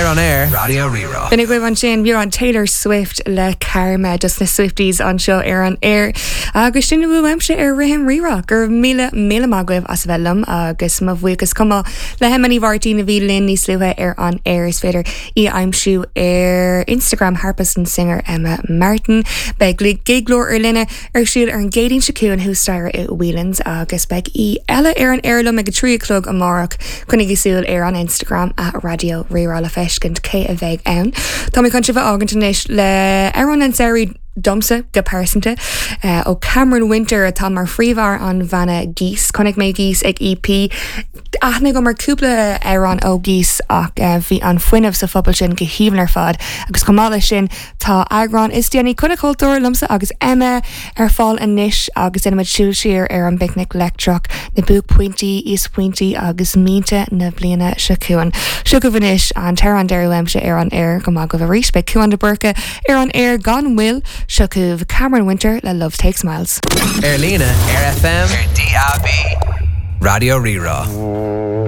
Ar an aer, Raidió Rí-Rá. B'in agaibh ansin beagán Taylor Swift le Karma dos na Swifties anseo ar an aer. Agus sin a bhfuil uaimse ar Rithim Rí-Rá. Go raibh míle míle maith agaibh as a bheith liom agus mo bhuíochas chomh maith le hEmma Ní Mháirtín a bhí linn níos luaithe ar an aer. Is féidir í a aimsiú ar Instagram harpist and singer Emma Martin. Beidh Giglóir ar line ar siúl ar an gCéadaoin seo chugainn thuas staighre i Whelan's agus beidh aoi eile ar an aer liom ag a 3 a chlog amárach. Coinnigí súil ar an Instagram at Raidió Rí-Rá le feiscint cé a bheidh ann. Tá mé chun sibh a fhágaint anois le amhrán an tsamhraidh domsa go pearsanta ó Cameron Winter atá mar phríomhfhear an bhanna Geese. Chonaic mé Geese ag EP. Aithne agam ar cúpla amhrán ó Geese ach bhí an fuinneamh sa phuball sin go haoibhinn ar fad agus chomh maith leis sin Tá eagrán is déanaí Coinne Cultúir liomsa agus Emma ar fáil anois agus déanaimid siúl siar ar an bPicnic Leictreach, na buaicphointí, íosphointí agus mianta na bliana seo chugainn. Seo chugaibh anois an t-amhrán deiridh uaimse ar an aer. Go maith agaibh arís. Beidh Cuan de Búrca ar an aer gan mhoill. Seo chugaibh Cameron Winter le Love Takes Miles. Ar líne, ar FM, ar DAB, Raidió Rí-Rá.